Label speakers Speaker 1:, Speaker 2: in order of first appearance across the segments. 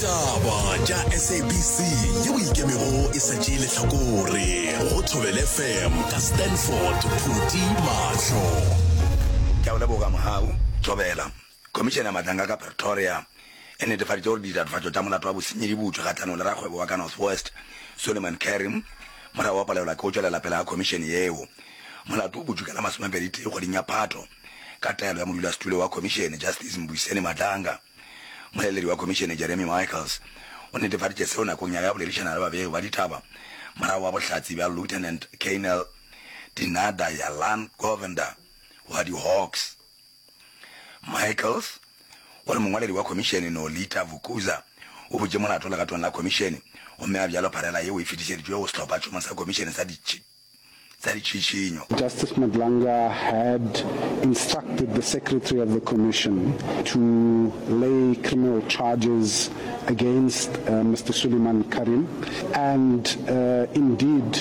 Speaker 1: Ditaba tša SABC yeo ikemego e sa tšee lehlakore go Thobela FM ka Stanford Phuti Mahlo.
Speaker 2: Ke a go leboga Mohau. Thobela. Khomišene ya Matlanga ka Pretoria e netefaditše gore ditatofatšo tša molato wa bosenyi di butšwe kgahlanong le rakgwebo wa ka North West, Suleiman Carrim, morago wa palelwa ke go tšwelela pele ga khomišene yeo. Molato o butšwe ka la masomepeditee kgweding ya Phato ka taelo ya modulasetulo wa khomišene, Justice Mbuyiseni Madlanga. Moeleledi wa khomišene, Jeremy Michaels, o netefaditše seo nakong ya ge a boledišana le babegi ba ditaba morago ga bohlatse bja Lieutenant Colonel Dinadayalan Govender wa di-Hawks. Michaels o re mongwaledi wa khomišene Nolitha Vukuza o butše molato legatong la khomišene gomme a bjalo pharela yeo e fetišeditšwe go sehlophatšhomo sa khomišene sa sa ditšhišinyo.
Speaker 3: Justice Madlanga had instructed the secretary of the commission to lay criminal charges against Mister Suleiman Carrim and indeed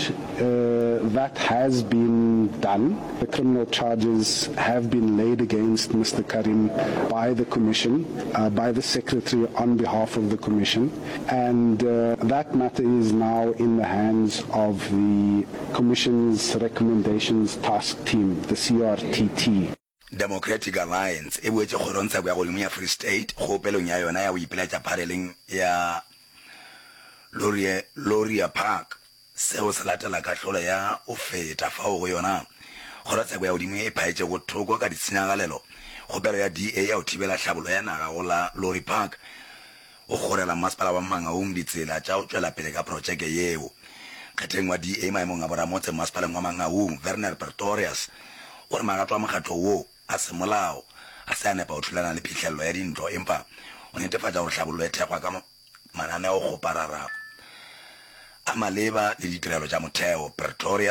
Speaker 3: that has been done. The criminal charges have been laid against Mister Carrim by the commission, by the secretary on behalf of the commission and that matter is now in the hands of the Commission's Recommendations Task Team, the CRTT.
Speaker 2: Democratic Alliance e boetše kgorongtsheko ya godimo ya Free State kgopelong ya yona ya go ipiletša phareleng ya Lorie, Loria Park. Seo se latela kahlolo ya go feta fao go yona kgorotsheko ya godimo e phaetšego thoko ka ditshenyagalelo kgopelo ya DA ya go thibela hlabollo ya naga go la Lorry Park go kgorela masepala wa Mangaung ditsela tša go tšwela pele ka protšeke yeo. Kgetheng wa DA maemong a boramotse masepaleng wa Mangaung, Werner Pretorius, o re magato a mokgatlo wo a semolao ga se a nepa go thulana le phihlelelo ya dintlo empa o netefatša gore hlabollo e thekgwa ka mananeokgoparara a maleba le ditirelo tša motheo. Pretorius.